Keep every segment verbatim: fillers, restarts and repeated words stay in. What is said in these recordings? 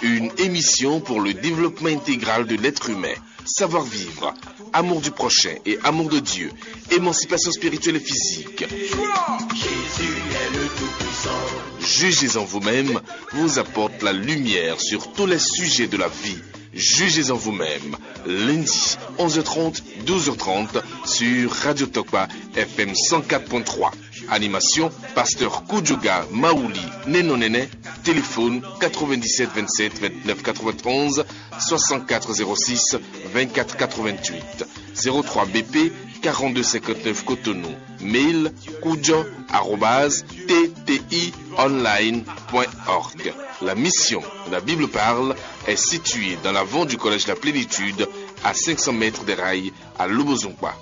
Une émission pour le développement intégral de l'être humain. Savoir-vivre, amour du prochain et amour de Dieu, émancipation spirituelle et physique. Jugez en vous-même vous apporte la lumière sur tous les sujets de la vie. Jugez en vous-même. Lundi, onze heures trente, douze heures trente, sur Radio Tokpa F M cent quatre point trois. Animation, pasteur Kudjoga Maouli Nenonene. Téléphone quatre-vingt-dix-sept vingt-sept vingt-neuf quatre-vingt-onze, soixante-quatre zéro six vingt-quatre quatre-vingt-huit, zéro trois B P quarante-deux cinquante-neuf Cotonou. Mail kudjo arobase T T I online point org. La mission, la Bible parle, est située dans l'avant du collège La Plénitude, à cinq cents mètres des rails, à Lobozungba.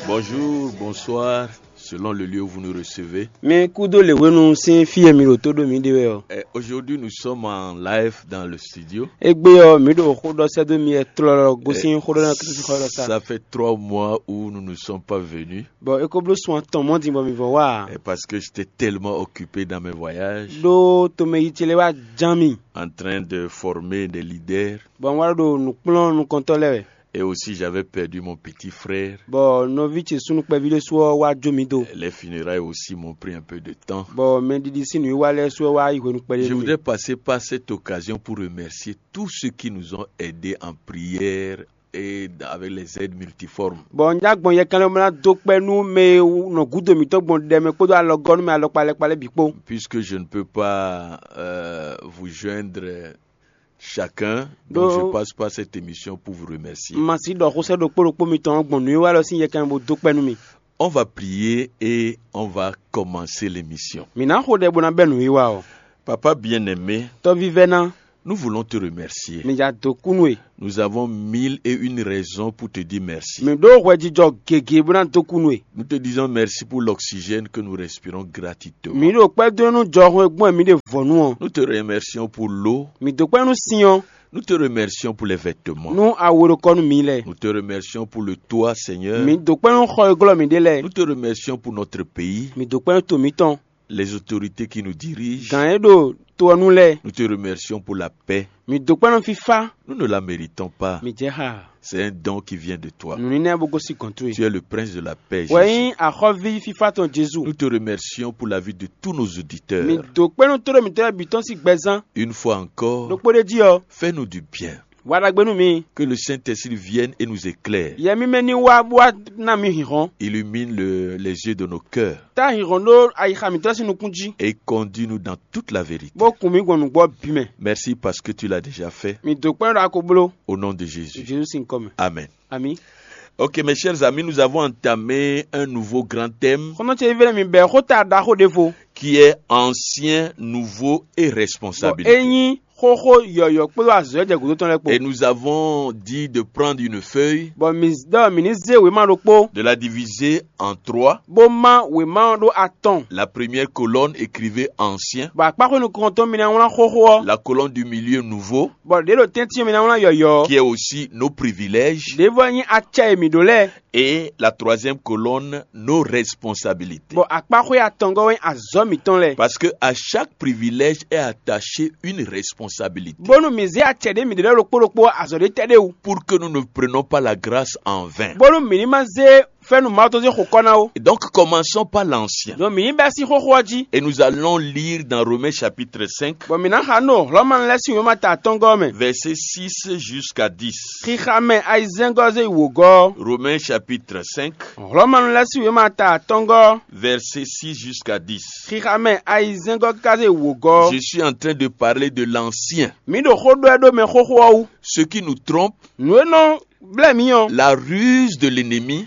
Bonjour, bonsoir, selon le lieu où vous nous recevez. Mi kúdó lě hwenu sín fí e mi ɖo tó ɖó mǐ ɖe wɛ ɔ́. Eh, aujourd'hui, nous sommes en live dans le studio. Égbé ɔ́, mǐ ɖo xó ɖɔ sɛ́ dó mi wɛ tlɔlɔ gosín xó ɖɔ ná Kristu xɔ ɖɔ sá. Ça fait trois mois où nous ne sommes pas venus. Bɔ é ko bló sun atɔn mɔ̌ din bɔ mǐ vɔ wá. Et parce que j'étais tellement occupé dans mes voyages, Ɖó tomɛ yi ce lɛ́ɛ wá ján mì. En train de former des leaders. Bɔ un wá ɖo nǔ kplɔ́n nukɔntɔ́ lɛ́ɛ wɛ. Et aussi, j'avais perdu mon petit frère. Bɔ nɔví ce súnnu kpɛví ɖésú ɔ́ wá jó mǐ do. Les funérailles aussi m'ont pris un peu de temps. Bɔ mɛɖiɖi sín nǔwiwa lɛ́ɛ sú ɔ́ wá yi hwenu kpɛɖé. Je voudrais passer par cette occasion pour remercier tous ceux qui nous ont aidés en prière et avec les aides multiformes. Bɔ un já gbɔn yɛkɛnlɛ bó ná dó kpɛ́ nú mɛ e nɔ gúdo mǐtɔn gbɔn ɖɛ mɛ kpódó alɔgɔ́ nú mɛ alɔkpa lɛ́kpa lɛ́ɛ bǐ kpó. Puisque je ne peux pas euh, vous joindre chacun, donc je passe par cette émission pour vous remercier. Ma si ɖɔ xó sɛ́ ɖokpó ɖokpó mitɔn gbɔn nǔwiwa lɔ sín yɛkɛnlɛ bó dó kpɛ́ nú mi. On va prier et on va commencer l'émission. Mǐ ná xo ɖɛ bó ná bɛ́ nǔwiwa ɔ́. Papa bien-aimé, Tɔ́ vívɛ́ná, Nous voulons te remercier. Mǐ ja dó kú nú we. Nous avons mille et une raisons pour te dire merci. Mǐ ɖó hwɛjijɔ gěgé bó ná dó kú nú we. Nous te disons merci pour l'oxygène que nous respirons gratuitement. Mǐ ɖo kpɛ́ dó nú jɔhɔn e gbɔn mǐ ɖe vɔ̌nu ɔ́. Nous te remercions pour l'eau. Mǐ dó kpɛ́ nú sin ɔ́. Nous te remercions pour les vêtements. Nú awu e ɖo kɔ nú mǐ lɛ́ɛ. Nous te remercions pour le toit, Seigneur. Mǐ dó kpɛ́ nú xɔ e glɔ́ mǐ ɖe lɛ́ɛ. Nous te remercions pour notre pays. Mǐ dó kpɛ́ nú to mǐtɔn. Les autorités qui nous dirigent. Gǎn e ɖo to ɔ́ nu lɛ́ɛ. Nous te remercions pour la paix. Mǐ dó kpɛ́ nú fífá. Nous ne la méritons pas. Mǐ jɛ xá. C'est un don qui vient de toi. Nǔníná e bó gosín gɔ̌n towe. Tu es le prince de la paix, Wɛ Jésus. Nyí axɔ́ví fífá tɔn Jezu. Nous te remercions pour la vie de tous nos auditeurs. Mǐ dó kpɛ́ nú tóɖó mǐtɔn lɛ́ɛ bǐ tɔn sín gbɛzán. Une fois encore, Ɖokpó ɖé jí ɔ́. Fais-nous du bien. Wa ɖagbe nú mi. Que le Saint-Esprit vienne et nous éclaire. Yɛ mímɛ́ ní wá bó wá ná mi hǐnhɔ́n. Illumine le- les yeux de nos cœurs. Tá hǐnhɔ́n ɖó ayixa mǐtɔn sín nukún jí. Et conduis-nous dans toute la vérité. Bó kun mǐ gbɔn nǔgbó bǐ mɛ. Merci parce que tu l'as déjà fait. Mǐ dó kpɛ́n ɖɔ a ko bló. Au nom de Jésus. Jezu sín kɔ mɛ. Amen. Ami. Ok, mes chers amis, nous avons entamé un nouveau grand thème. Xɔnɔ ce vívɛ́ mi bɛ́ xó ta ɖaxó ɖěvo. Qui est ancien, nouveau et responsabilité. Bɔ é nyí xóxó yɔ̌yɔ́ kpódó azɔ̌ e jɛ gǔdo tɔn lɛ́ɛ kpó. Et nous avons dit de prendre une feuille, Bɔ mǐ ɖɔ mǐ ní zé wěma ɖokpó, de la diviser en trois. Bó má wěma ɔ́ ɖó atɔn. La première colonne, écrivez ancien. Bɔ akpáxwé nukɔntɔn mi ná wlán xóxó ɔ́. La colonne du milieu, nouveau. Bɔ ɖě ɖo tɛ́ntin ɔ́ mi ná wlán yɔ̌yɔ́. Qui est aussi nos privilèges. Ɖěvo ɔ́ nyí acɛ e mǐ ɖó lɛ́ɛ. Et la troisième colonne, nos responsabilités. Bɔ akpáxwé atɔngɔ́ wɛ nyí azɔ̌ mǐtɔn lɛ́ɛ. Parce que à chaque privilège est attachée une responsabilité. Bónú mǐ zé acɛ ɖě mǐ ɖe lɛ́ɛ ɖokpó ɖokpó azɔ̌ ɖé tɛ́ ɖé wú. Pour que nous ne prenions pas la grâce en vain. Bónú mǐ ní ma zé fɛ́nú Mawu tɔn sín xokɔ́ ná ó. Et donc, commençons par l'ancien. Donc mǐ ní bɛ́ sín xóxó ɔ́ jí. Et nous allons lire dans Romains chapitre cinq, Bɔ mǐ ná xa nú Hlɔ̌manu lɛ́ɛ sín wěma ta atɔ́ngɔ́ ɔ́ mɛ. Verset six jusqu'à dix. Xixa mɛ ayizɛ́ngɔ́ zé yi wǒgɔ́. Romains chapitre cinq, Hlɔ̌manu lɛ́ɛ sín wěma ta atɔ́ngɔ́. Verset six jusqu'à dix. Xixa mɛ ayizɛ́ngɔ́ ká zé yi wǒgɔ́. Je suis en train de parler de l'ancien. Mǐ ɖo xó ɖɔ ɛ ɖó mɛ xóxó ɔ́ wú. Ce qui nous trompe, Nǔ e nɔ blɛ́ mǐ ɔ́. La ruse de l'ennemi,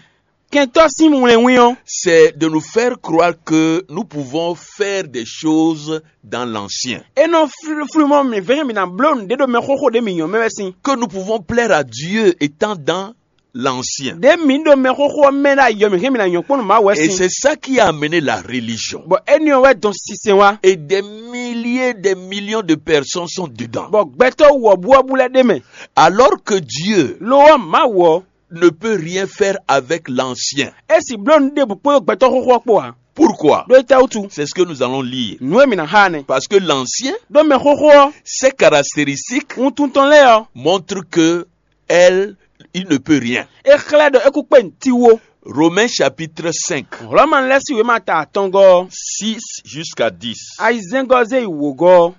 Kɛntɔ́ sín wlɛnwín ɔ́. C'est de nous faire croire que nous pouvons faire des choses dans l'ancien. É nɔ flú- flú mɔ mǐ vɛ́ mǐ ná bló nǔɖé ɖo mɛ xóxó ɖé mǐ nyɔ́ mɛ wɛ sín. Que nous pouvons plaire à Dieu étant dans l'ancien. Ɖě mǐ ɖo mɛ xóxó ɔ́ mɛ ɖo ayɔ mǐ hɛn mǐ ná nyɔ́ kpɔ́n nú Mawu wɛ Et sín. C'est ça qui a amené la religion. Bɔ énɛ́ ɔ́ wɛ dɔn sinsɛn wá. Et des milliers, des millions de personnes sont dedans. Bɔ gbɛtɔ́ wɔ̌buwɔ́bú lɛ́ɛ ɖ'é mɛ. Alors que Dieu Lo ɔ́, Mawu ɔ́, ne peut rien faire avec l'ancien. É sì bló nǔ ɖěbǔ kpódó gbɛtɔ́ xóxó ɔ́ kpó ǎ. Pourquoi? Ɖó étɛ́ wútu? C'est ce que nous allons lire. Nǔ e mǐ ná xa ɔ́ nɛ́. Parce que l'ancien, Ɖó mɛxóxó ɔ́, ses caractéristiques wuntun tɔn lɛ́ɛ ɔ́, montrent que elle, il ne peut rien. é xlɛ́ ɖɔ é kú kpé nǔtiwo. Romains chapitre cinq, Hlɔ̌ma lɛ́ sín wěma ta atɔngɔ́ ɔ́, six jusqu'à dix. ayizɛ́ngɔ́ zé yi wǒgɔ́ ɔ́.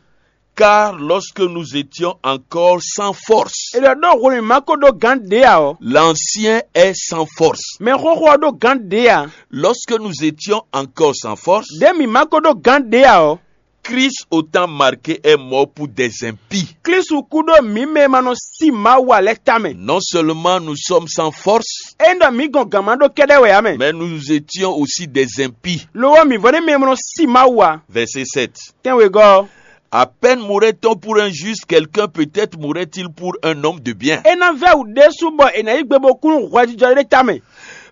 Car lorsque nous étions encore sans force, É ɖɔ ɖó hwenu mǐ ma ko ɖó gǎn ɖě ǎ ɔ́, l'ancien est sans force. Mɛxóxó ɔ́ ɖó gǎn ɖě ǎ. Lorsque nous étions encore sans force, Ɖě mǐ ma ko ɖó gǎn ɖě ǎ ɔ́, Christ, au temps marqué, est mort pour des impies. Klísu kú ɖó mǐ mɛ e ma nɔ sí Mawu ǎ lɛ́ɛ tamɛ. Non seulement nous sommes sans force, É ɖɔ mǐ gɔn gǎn ma ɖó kɛ́ɖɛ́ wɛ ǎ mɛ. Mais nous étions aussi des impies. Lo ɔ́, mǐ vɔ́ ɖ'é mɛ e ma nɔ sí Mawu ǎ. Verset sept. Tɛ́nwegɔ́ ɔ́, À peine mourrait-on pour un juste, quelqu'un peut-être mourrait-il pour un homme de bien. É ná vɛ́ wǔ ɖésú bɔ è nǎ yí gbe bó kú nú hwɛjijɔ ɖé tamɛ.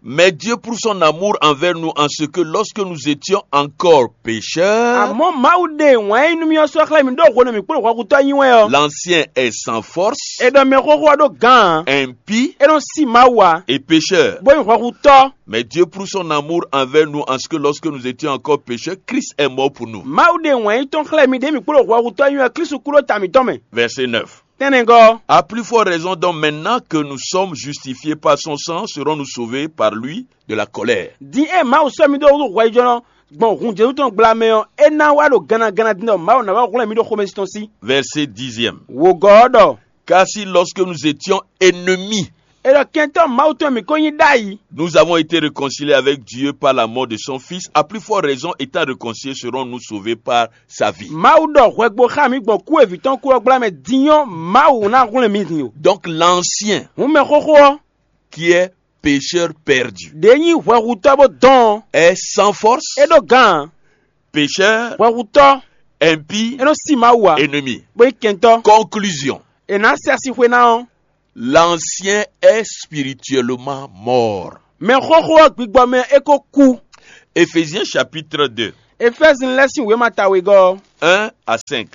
Mais Dieu prouve son amour envers nous en ce que lorsque nous étions encore pécheurs, Amɔ̌ Mawu ɖe wǎn e nú mì ɔ́ sɔ́ xlɛ́ mì ɖó hwenu e mǐ kplé hwɛhutɔ́ nyi wɛ ɔ́. L'ancien est sans force, È ɖɔ mɛxóxó ɔ́ ɖó gǎn ǎ. Impie É nɔ sí Mawu ǎ. Et pécheur. Bó nyí hwɛhutɔ́. Mais Dieu prouve son amour envers nous en ce que lorsque nous étions encore pécheurs, Christ est mort pour nous. Mawu ɖe wǎn yí tɔn xlɛ́ mì ɖě mǐ kplé hwɛhutɔ́ nyi wɛ Klísu kú ɖó ta mǐtɔn mɛ. Verset neuf. Tɛ́nnɛgɔ́ ɔ́, À plus forte raison, donc maintenant que nous sommes justifiés par son sang, serons-nous sauvés par lui de la colère. Din e Mawu sɔ́ mì dó wútu hwɛjijɔnɔ gbɔn hun Jezu tɔn gbla mɛ ɔ́, é ná wá ɖo gannaganna din ɖɔ Mawu ná wá hwlɛ́n mì ɖo xomɛsin tɔn sí. Verset dixième. Wǒgɔ́ ɔ́ ɖɔ Car si lorsque nous étions ennemis, é ɖɔ kɛntɔ́ Mawu tɔn mǐ ko nyí ɖ'ayǐ. Nous avons été réconciliés avec Dieu par la mort de son Fils, à plus forte raison, étant réconciliés, serons-nous sauvés par sa vie. Mawu ɖɔ hwɛgbo xá mǐ gbɔn kú e vǐ tɔn kú ɔ́ gbla mɛ din ɔ́, Mawu ná hwlɛ́n mì din o. Donc l'ancien, Hǔn mɛxóxó ɔ́, qui est pécheur perdu, ɖě nyí hwɛhutɔ́ bó dɔn ɔ́, est sans force, é ɖó gǎn. Pécheur, Hwɛhutɔ́, impie, é nɔ sí Mawu ǎ, ennemi. Bó nyí kɛntɔ́. Conclusion. È nǎ sɛ asi xwe ná ɔ́. L'ancien est spirituellement mort. Mɛxóxó ɔ́ gbigbɔ mɛ é ko kú. Éphésiens chapitre deux, Efɛ́zin lɛ́ sín wěma ta wegɔ́ ɔ́, un à cinq.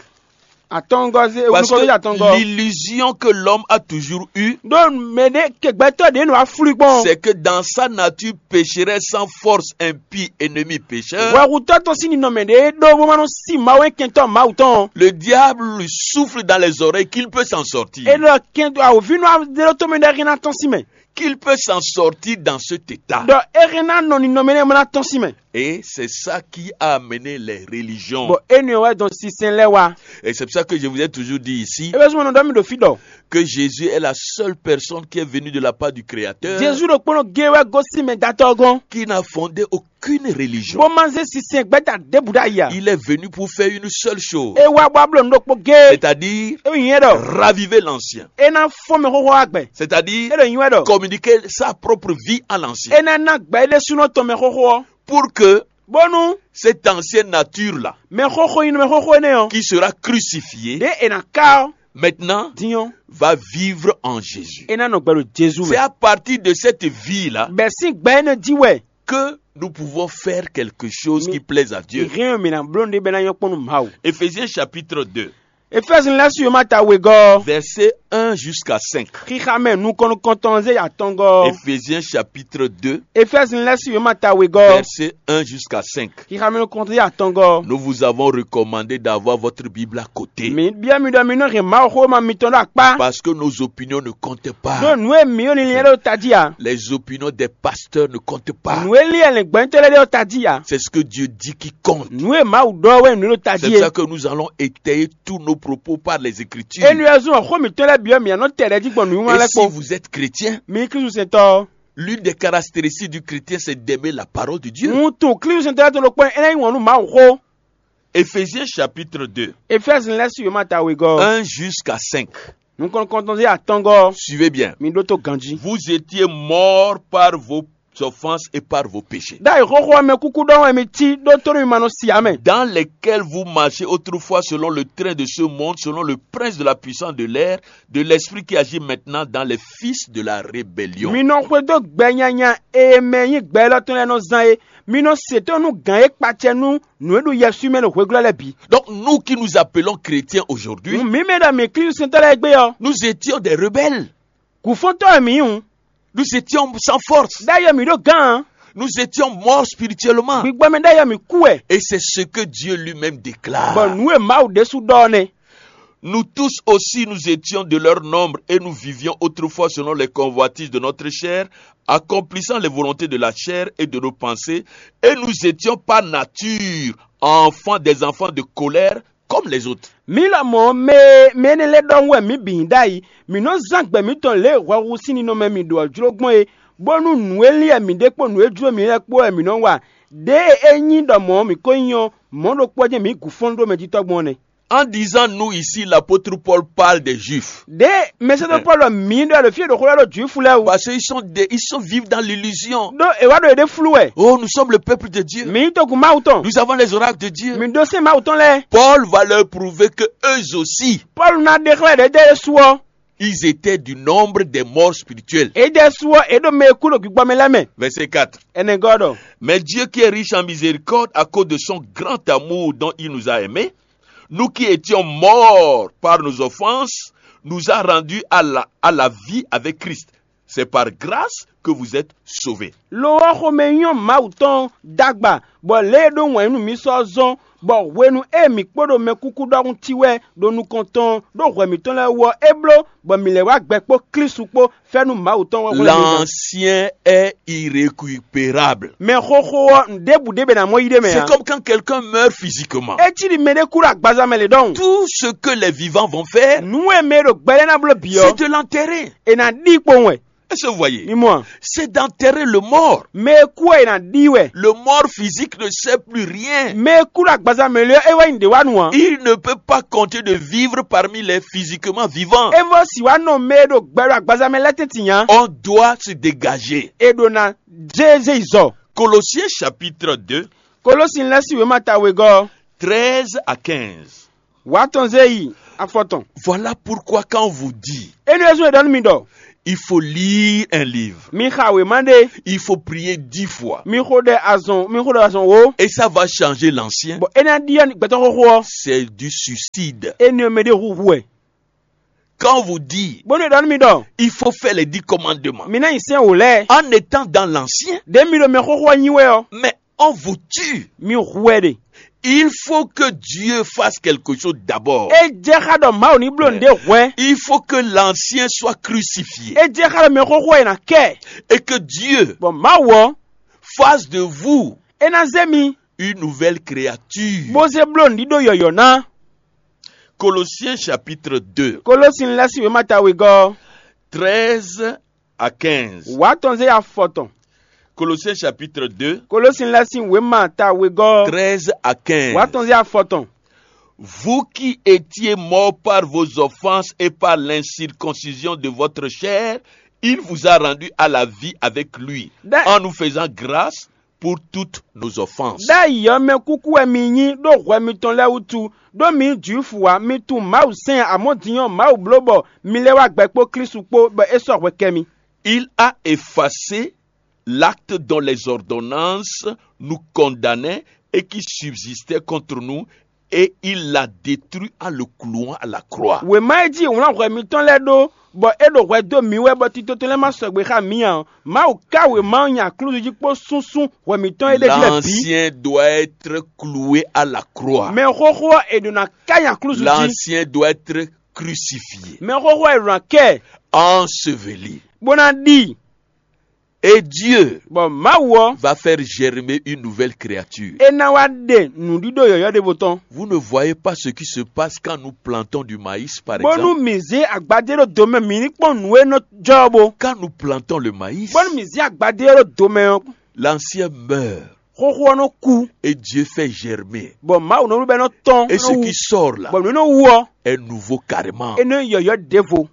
Atɔngɔ́ zé Parce nukɔn zé atɔngɔ́. que l'illusion que l'homme a toujours eue, Ɖó mɛ ɖé kɛgbɛtɔ́ ɖě nɔ aflú gbɔn. C'est que dans sa nature pécheresse sans force, impie, ennemi, pécheur, Hwɛhutɔ́ tɔn sín ninɔmɛ ɖě ɖó bó ma nɔ sí Mawu e kɛntɔ́ Mawu tɔn. Le diable lui souffle dans les oreilles qu'il peut s'en sortir. É ɖɔ kɛntɔ́ awǒvínú adéɖótɔ́ mɛ ɖɔ é hɛn ná tɔ́n sín mɛ. Qu'il peut s'en sortir dans cet état. Ɖɔ é hɛn ná nɔ ninɔmɛ nɛ́ mɔ ná tɔ́n sín mɛ. Et c'est ça qui a amené les religions. Bɔ énɛ́ wɛ dɔn sinsɛn lɛ́ɛ wá. Et c'est pour ça que je vous ai toujours dit ici É bɛ súnmọ́ nɔ ɖɔ mì ɖo fí ɖɔ. Que Jésus est la seule personne qui est venue de la part du Créateur, Jezu ɖokpónɔ gé wɛ gosín mɛ datɔ́ gɔ́n. Qui n'a fondé aucune religion. Bó má zé sinsɛn gbɛ́ta ɖěbǔ ɖ'ayǐ ǎ. Il est venu pour faire une seule chose, É wá bó wá bló nǔ ɖokpó géé. C'est-à-dire É nyí é ɖɔ. Raviver l'ancien. É ná fɔ́n mɛ xóxó wá gbɛ. C'est-à-dire É ɖo nyí wɛ ɖɔ. Communiquer sa propre vie à l'ancien. É ná ná gbɛ é ɖésúnɔ tɔn mɛ xóxó ɔ́. Pour que Bónú cette ancienne nature-là, mɛ xóxó nyi nú mɛ xóxó énɛ́ ɔ́. Qui sera crucifié, Ɖě è nǎ ká ɔ́. Maintenant, Din ɔ́. Va vivre en Jésus. É ná nɔ gbɛ ɖo Jezu C'est mɛ. À partir de cette vie-là Bɛ̌ sín gbɛ énɛ́ jí wɛ. Que nous pouvons faire quelque chose qui plaise à Dieu. Hɛn mǐ ná bló nǔɖé bɛ́ ná nyɔ́ kpɔ́n nú Mawu. Éphésiens chapitre deux, Efɛ́zin lɛ́ɛ su yoma ta wegɔ́. Verset un jusqu'à cinq. Xixa mɛ nukɔn nukɔn tɔn zé atɔngɔ́. Éphésiens chapitre deux, Efɛ́zin lɛ́ɛ su yoma ta wegɔ́. Verset un jusqu'à cinq. Xixa mɛ nukɔn tɔn zé atɔngɔ́. Nous vous avons recommandé d'avoir votre Bible à côté. Mi byɔ́ mi ɖɔ mi nɔ hɛn Mawu xó ma mitɔn ɖo akpá. Parce que nos opinions ne comptent Ɖó pas. Nǔ e mǐ ɖo linlin lɛ́ɛ ɖo tají ǎ. Les opinions des pasteurs ne comptent pas. Nǔ e lin ɛlɛ̌ngbɛ́ntɔ́ lɛ́ɛ ɖe ɖo tají ǎ. C'est ce que Dieu dit qui compte. Nǔ e Mawu ɖɔ wɛ nǔ ɖo tají C'est pour é. Ça que nous allons étayer tous nos propos par les Écritures. Énú ɛ zún xó mǐtɔn lɛ́ɛ byɔ́ mǐ nɔ tɛ lɛ́ jí gbɔn nǔnywɛ́ Et lɛ́ɛ si kpó. Vous êtes chrétien, Mi Klísu sɛntɔ́. L'une des caractéristiques du chrétien, c'est d'aimer la parole de Dieu. Ŋutu Klísu sɛntɔ́ lɛ́ɛ to ɖokpɔ́ é ná nyí wǎn nú Mawu xó. Éphésiens chapitre deux. Efɛ́zin lɛ́ɛ su yoma ta wegɔ́. Un jusqu'à cinq. Nukɔn nukɔn tɔn zé atɔngɔ́. Suivez bien. Mi ɖótó ganjí. Vous étiez morts par vos offenses et par vos péchés. Ɖ'ayǐ xóxó ɔ́ mɛ kúkú ɖɔ wɛ mi cí ɖó tónú mi ma nɔ si ǎ mɛ. Dans lesquels vous marchez autrefois selon le train de ce monde, selon le prince de la puissance de l'air, de l'esprit qui agit maintenant dans les fils de la rébellion. Mi nɔ xwedó gbɛ nyanya e mɛ nyí gbɛ élɔ́ tɔn lɛ́ɛ nɔ zán é. Mi nɔ se tónú nú gǎn e kpacɛ nú nǔ e ɖo yɛswí mɛ ɖo hweglɔ́ lɛ́ɛ bǐ. Donc nous qui nous appelons chrétiens aujourd'hui, Mǐ mɛ ɖɔ mǐ Klísu sɛntɔ́ lɛ́ɛ gbé ɔ́, nous étions des rebelles. Gǔfɔ́ntɔ́ wɛ mǐ nyí hǔn. Nous étions sans force. Ɖ'ayǐ ɔ́ mǐ ɖó gǎn. Nous étions morts spirituellement. Gbigbɔ mɛ ɖ'ayɔ mǐ kú wɛ. Et c'est ce que Dieu lui-même déclare. Bɔ nǔ e Mawu ɖésú ɖɔ ɔ́ nɛ́. Nous tous aussi, nous étions de leur nombre et nous vivions autrefois selon les convoitises de notre chair, accomplissant les volontés de la chair et de nos pensées, et nous étions par nature enfants, des enfants de colère comme les autres. Mǐ lɔmɔ̌ mɛ mɛ énɛ́ lɛ́ɛ ɖɔhun wɛ mǐ bǐ nyí ɖ'ayǐ. Mǐ nɔ́ zán gbɛ mǐtɔn lě e hwɛhu sín ninɔmɛ mǐ ɖó ɔ́ jló gbɔn é, bónú nǔ e lin wɛ mǐ ɖe kpó nǔ e jló mǐ lɛ́ɛ kpó wɛ mǐ nɔ́ wa. Ɖěe é nyí ɖɔ mɔ̌ mǐ ko nyí ɔ́, mɔ̌ ɖokpó ɔ́ jɛ́n mǐ gu fɔ́n ɖó mɛjitɔ́ gbɔn ɔ́ nɛ́. En disant nous ici, l'apôtre Paul parle des Juifs. Ɖěe mɛsɛntɔ́ Pɔ́lu mǐ ɖɔ ɖo fí e ɖo xó lɛ́ ɖo Jwifu lɛ́ɛ wú. Parce qu'ils sont, des- ils sont vivent dans l'illusion. Ɖó è wá ɖo yěɖée flú wɛ. Oh, nous sommes le peuple de Dieu. Mǐ nyí togun Mawu tɔn. Nous avons les oracles de Dieu. Mǐ ɖó sɛ́n Mawu tɔn lɛ́ɛ. Paul va leur prouver que eux aussi, Pɔ́lu ná ɖe xlɛ́ ɖě jɛ Yesu ɔ́. Ils étaient du nombre des morts spirituels. Édɛ́ su ɔ́, é ɖo mɛ e kú ɖo gbígbɔ mɛ lɛ́ɛ mɛ. Verset quatre. Ɛnɛgɔ́ ɖɔ: Mais Dieu qui est riche en miséricorde, à cause de son grand amour dont il nous a aimés, nous qui étions morts par nos offenses, nous a rendus à la, à la vie avec Christ. C'est par grâce que vous êtes sauvés. Lo ɔ́, xomɛ nyɔ́ Mawu tɔn d'agba, bɔ lě e ɖó wǎn nú mǐ sɔ́ zɔ́n, bɔ hwenu e mǐ kpo ɖo mɛkúkú ɖɔhun ti wɛ ɖo nukɔn tɔn ɖó hwɛ mǐtɔn lɛ́ɛ wú ɔ́, é bló bɔ mǐ lɛ́ wá gbɛ kpó Klísu kpó fɛ́nú Mawu tɔn wɛ hwlɛ́n mi ɖɔ. L'ancien est irrécupérable. Mɛ xóxó ɔ́, nǔɖébǔ ɖé bɛ ná mɔ yí ɖé mɛ C'est ǎ. Comme quand quelqu'un meurt physiquement. É cí ɖi mɛɖé kú ɖo agbaza mɛ lě ɖɔhun. Tout ce que les vivants vont faire, Nǔ e mɛ e ɖo gbɛ lɛ́ɛ ná bló bǐ ɔ́, c'est de l'enterrer. È nǎ ɖi kpowun wɛ. Est-ce que vous voyez? Mi mɔ a? C'est d'enterrer le mort. Mɛ e kú ɔ́, è nǎ ɖi wɛ. Le mort physique ne sert plus rien. Mɛ e kú ɖo agbaza mɛ lě ɔ́, é wɛ nyí nǔɖé wa nú ǎ. Il ne peut pas continuer de vivre parmi les physiquement vivants. É vɔ si wá nɔ mɛ e ɖo gbɛ ɖo agbaza mɛ lɛ́ɛ tɛ́ntin ǎ. On doit se dégager. È ɖǒ ná jé zé yi zɔ. Colossiens chapitre deux, Kolósin lɛ́ɛ sín wěma ta wegɔ́ ɔ́, treize à quinze. Wǎ tɔn zé yi afɔ tɔn. Voilà pourquoi quand on vous dit, Énɛ́ ɔ́ zɔ́n è ɖɔ nú mi ɖɔ: Il faut lire un livre. Mi xa wěma ɖé. Il faut prier dix fois. Mi xo ɖɛ azɔn, mi xo ɖɛ azɔn wǒ. Et ça va changer l'ancien. Bɔ é ná ɖyɔ́ gbɛtɔ́ xóxó ɔ́. C'est du suicide. Énɛ́ ɔ́ mɛ ɖé hu hu wɛ. Quand on vous dit, Bónú è ɖɔ nú mi ɖɔ: Il faut faire les dix commandements. Mi ná nyi sɛ́n wǒ lɛ́ɛ. En étant dans l'ancien, Ɖě mi ɖo mɛ xóxó ɔ́ nyi wɛ ɔ́, mais on vous tue. Mi hu wɛ ɖe. Il faut que Dieu fasse quelque chose d'abord. É jɛ xá ɖɔ Mawu ní bló nǔɖé hwɛ̌. Il faut que l'ancien soit crucifié. É jɛ xá ɖɔ mɛ xóxó ɔ́ è nǎ kɛ. Et que Dieu Bɔ Mawu ɔ́, fasse de vous é ná zé mi, une nouvelle créature. Bó zé bló nǔɖíɖó yɔ̌yɔ́ ná. Colossiens chapitre deux, Kolósin lɛ́ɛ sín wěma ta wegɔ́ ɔ́, treize à quinze. Wǎ tɔn zé afɔ tɔn. Colossiens chapitre deux, Kolósin lɛ́ɛ sín wěma ta wegɔ́ ɔ́, treize à quinze. Wǎ tɔn zé afɔ tɔn. Vous qui étiez morts par vos offenses et par l'incirconcision de votre chair, il vous a rendu à la vie avec lui, Dá- en nous faisant grâce pour toutes nos offenses. Ɖ'ayǐ ɔ́, mɛ kúkú wɛ mi nyí ɖó hwɛ mitɔn lɛ́ɛ wútu, ɖó mi nyí Jwifu ǎ, mi tunwun Mawu sɛ́n ǎ, amɔ̌ din ɔ́, Mawu bló bɔ mi lɛ́ wá gbɛ kpó Klísu kpó, bɔ é sɔ́ hwɛ kɛ mi. Il a effacé l'acte dont les ordonnances nous condamnaient et qui subsistait contre nous, et il l'a détruit en le clouant à la croix. Wěma e jí è wlán hwɛ mitɔn lɛ́ɛ ɖó, bɔ é ɖo hwɛ dó mǐ wɛ, bɔ tito tɔn lɛ́ɛ ma sɔgbe xá mǐ ǎ ɔ́, Mawu ká wěma ɔ́ nyi aklúzu jí kpó súnsún hwɛ mitɔn e ɖ'é jí lɛ́ɛ bǐ. L'ancien doit être cloué à la croix. Mɛ xóxó ɔ́, è ɖǒ ná ká nyi aklúzu jí. L'ancien doit être crucifié, Mɛ xóxó ɔ́, è ɖǒ ná kɛ ɛ, enseveli, bó ná ɖi. Et Dieu bɔ Mawu ɔ́, va faire germer une nouvelle créature. É ná wá ɖe nǔɖíɖó yɔ̌yɔ́ ɖěvo tɔn. Vous ne voyez pas ce qui se passe quand nous plantons du maïs, par Bónú exemple? Mǐ zé agbadé ɖó do mɛ, mǐ ní kpɔ́n nǔ e nɔ jɔ ɔ́ bó. Quand nous plantons le maïs, Bónú mǐ zé agbadé ɔ́ ɖó do mɛ ɔ́, l'ancien meurt, xóxó ɔ́ nɔ kú, et Dieu fait germer. Bɔ Mawu nɔ ɖu bɔ é nɔ tɔ́n, Et ce qui sort là, bɔ nǔ e nɔ wú ɔ́, est nouveau carrément. É nɔ nyí yɔ̌yɔ́ ɖěvo.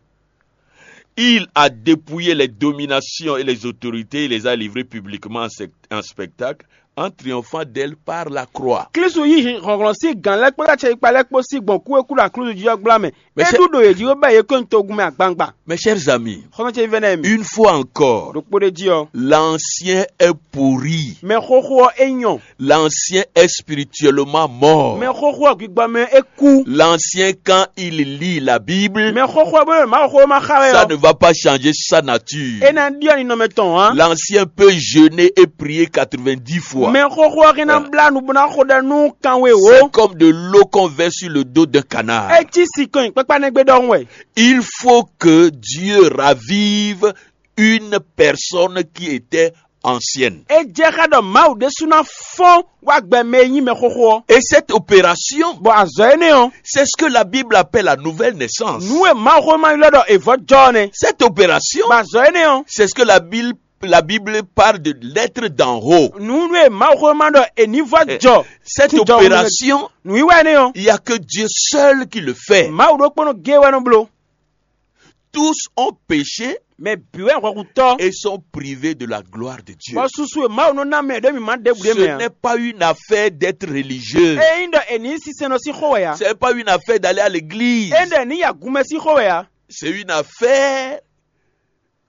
Il a dépouillé les dominations et les autorités, il les a livrées publiquement en sec-, en spectacle, en triomphant d'elle par la croix. Klísu yí hlɔ̌nhlɔ́n sín gǎn lɛ́ɛ kpódó acɛyikpa lɛ́ɛ kpó sí gbɔn kú e kú ɖo aklúzu jí ɔ́ gbla mɛ. É ɖu ɖo yě jí bó bɛ́ yě kɔn nyi togun mɛ agbangban. Mes chers amis, Xɔ́ntɔn ce vɛ́ nɛ́ mi. Une fois encore, ɖokpó ɖé jí ɔ́, l'ancien est pourri. Mɛ xóxó ɔ́ é nyɔ. L'ancien est spirituellement mort. Mɛ xóxó ɔ́ gbígbɔ mɛ é kú. L'ancien, quand il lit la Bible, Mɛ xóxó ɔ́ bó ɖo Mawuxówéma xa wɛ ça ɔ́, ne va pas changer sa nature. É ná ɖyɔ́ ninɔmɛ tɔn ǎ. L'ancien peut jeûner et prier quatre-vingt-dix fois. Mɛ xóxó ɔ́ hɛn ná blá nu bó ná xo ɖɛ nú kanwe wǒ. C'est comme de l'eau qu'on verse sur le dos d'un canard. É cí sikɔn kpákpá nɛ́ gbé ɖɔhun wɛ. Il faut que Dieu ravive une personne qui était ancienne. É jɛ xá ɖɔ Mawu ɖésú ná fɔ́n wá gbɛ mɛ e nyí mɛ xóxó ɔ́. Et cette opération, Bɔ azɔ̌ énɛ́ ɔ́, c'est ce que la Bible appelle la nouvelle naissance. Nǔ e Mawuxówéma ylɔ́ ɖɔ è vɔ̌ jɔ ɔ́ nɛ́. Cette opération, Bɔ azɔ̌ énɛ́ ɔ́, c'est ce que la Bible, la Bible parle de l'être d'en haut. Nǔ e Mawuxówéma ɖɔ è ní vɔ́ Eh, jɔ. Cette Sín jɔhɔn opération, Nǔwiwa énɛ́ ɔ́, il n'y a que Dieu seul qui le fait. Mawu ɖokpónɔ géé wɛ nɔ bló. Tous ont péché Mɛ bǐ wɛ hwɛhutɔ́, et sont privés de la gloire de Dieu. Bɔ susu e Mawu nɔ ná mɛ ɖě mi ma ɖěbǔ ɖé Ce mɛ ǎ. N'est pas une affaire d'être religieux. Ényí ɖɔ è nǐ sinsɛnnɔ sín xó wɛ ǎ. Ce n'est pas une affaire d'aller à l'église. Ényí ɖɔ è nǐ yi agunmɛ sín xó wɛ ǎ. C'est une affaire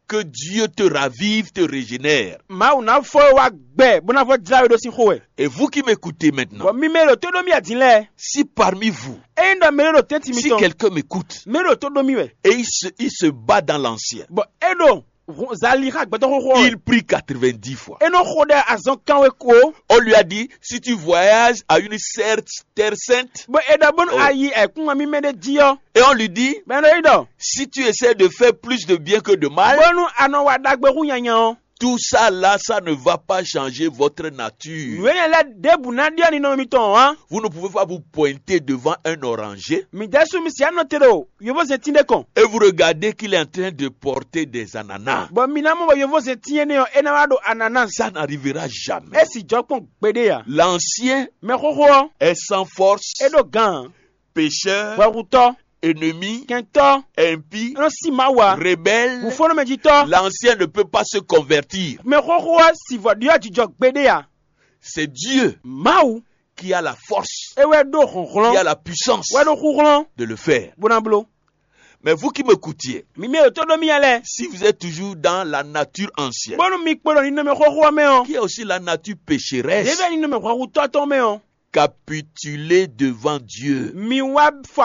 que Dieu te ravive, te régénère. Mawu ná fɔ we wá gbɛ bó ná fɔ jlá we ɖó sín xó wɛ. Et vous qui m'écoutez maintenant, Bɔ mi mɛ ɖo tó ɖó mì adin lɛ́ɛ, si parmi vous, ényí ɖɔ mɛ ɖo tɛ́ntin si mitɔn, quelqu'un m'écoute mɛ ɖo tó ɖó mì wɛ, et il se, il se bat dans l'ancien, bɔ é ɖo hu- zali xá gbɛtɔ́ xóxó ɔ́ wɛ, il prie quatre-vingt-dix fois. É nɔ xo ɖɛ azɔn kanwe ko. On lui a dit, si tu voyages à une certaine terre sainte, Bɔ é ɖɔ bónú Oh. a yi ayǐkúngban mímɛ́ ɖé jí ɔ́, et on lui dit, bɔ é nɔ yi ɖɔ si tu essaies de faire plus de bien que de mal, bónú a nɔ wa ɖagbe hú nyanya ɔ́, tout ça là, ça ne va pas changer votre nature. Nǔ énɛ́ lɛ́ɛ ɖěbǔ ná ɖyɔ́ ninɔmɛ mitɔn ǎ. Vous ne pouvez pas vous pointer devant un oranger Mi ɖésú mi sǐ anɔ te ɖo yovózɛntín ɖé kɔn. Et vous regardez qu'il est en train de porter des ananas. Bɔ mi ná mɔ bɔ yovózɛntín énɛ́ ɔ́ é ná wá ɖo ananás. Ça n'arrivera jamais. É sì jɔ kpɔ́n gbeɖé ǎ. L'ancien Mɛ xóxó ɔ́, est sans force, é ɖo gǎn. Pécheur, hwɛhutɔ́, ennemi, kɛntɔ́, impie, é nɔ sí Mawu ǎ, rebelle, wǔfɔ́númɛjitɔ́. L'ancien ne peut pas se convertir. Mɛ xóxó ɔ́ sì vɔ ɖyɔ́ jijɔ gbeɖé ǎ. C'est Dieu Mawu qui a la force, é wɛ ɖó hlɔ̌nhlɔ́n, qui a la puissance wɛ ɖó xúhlɔ́n de le faire. Bó ná bló. Mais vous qui m'écoutiez, mi mɛ ɖo tó ɖó mì lɛ́ɛ, si vous êtes toujours dans la nature ancienne, bónú mi kpo ɖo ninɔmɛ xóxó ɔ́ mɛ ɔ́, qui est aussi la nature pécheresse, ɖěbǔ wɛ ninɔmɛ hwɛhutɔ́ tɔn mɛ ɔ́, capitulez devant Dieu. Mi wá fɔ